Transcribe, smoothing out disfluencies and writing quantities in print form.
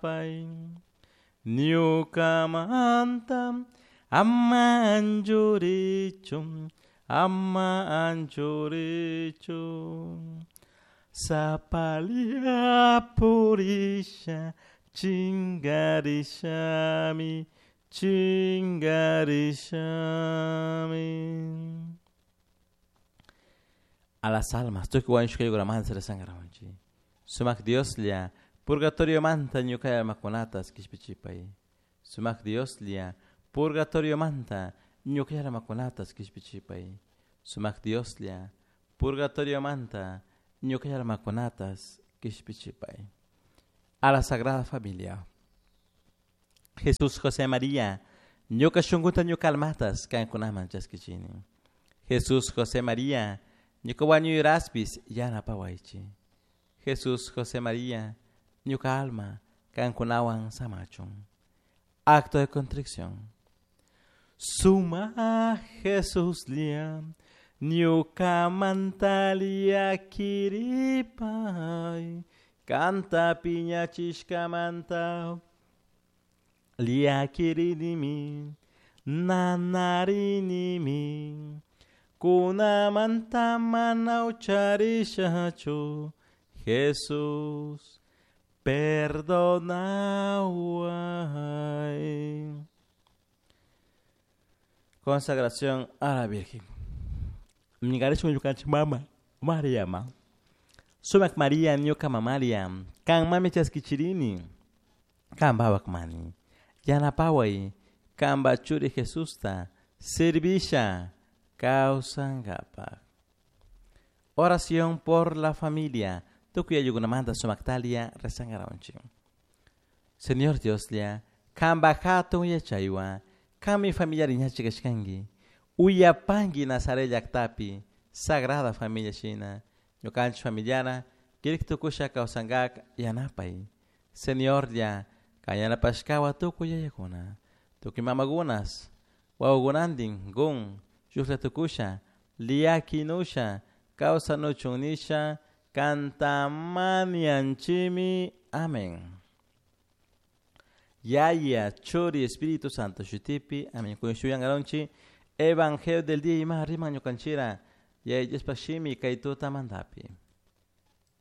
Pai ñukamanta ama anchurichun ama anchurichun Sapalia purisha chingarishami chingarishami. A las almas tukuy wañushkaykuramanta rezangarawanchik. Sumak Dioslla purgatoriomanta ñuka almakunatas kishpichipay. Sumak Dioslla purgatoriomanta ñuka almakunatas kishpichipay. Sumak Dioslla purgatoriomanta ñuka almakunatas kishpichipay. A la Sagrada Familia. Jesús José María, ñuka shunkuta ñuka almatas kankunaman chaskichini. Jesús José María, ñuka wañuyraspis yanapawaychik. Jesús José María, ñuka alma kankunawan samachun. Acto de contrición. Suma Jesuslla ñukamanta llakiripay kanta piñachishkamanta llakirinimi nanarinimi kunamanta mana ucharishachu Jesús perdonaway. Consagración a la Virgen. Ñukanchik ñukanchik mama Mariama. Sumak Maria ñuka mamaria. Kan mami chaskichirini. Kan wawak mani. Yanapaway. Kanpa churi Jesusta. Servisha. Kawsankapak. Oración por la familia. Tukuy ayllukunamanta sumaktalia rezangarawanchik. Señor Dioslla, kanpa hatun yachaywan, kanmi familiari ñachik kashkanki. Uyapanki Nazaret llaktapi, Sagrada Familia shina. Ñukanchik familiana, kirik tukusha kawsankak yanapay. Señorlla, kan yanapashkawan tukuy yayakuna. Tukuy mamakunas, wawakunantin, gun, shuklla tukusha, llakinusha, kawsanuchun nisha, kanta mañanchimi. Amén. Yaya, Churi, Espíritu Santo, shutipi, amén. Kunan Evangelio del día ima riman ñukanchira, Yaya Diospa shimi kay tutamantapi.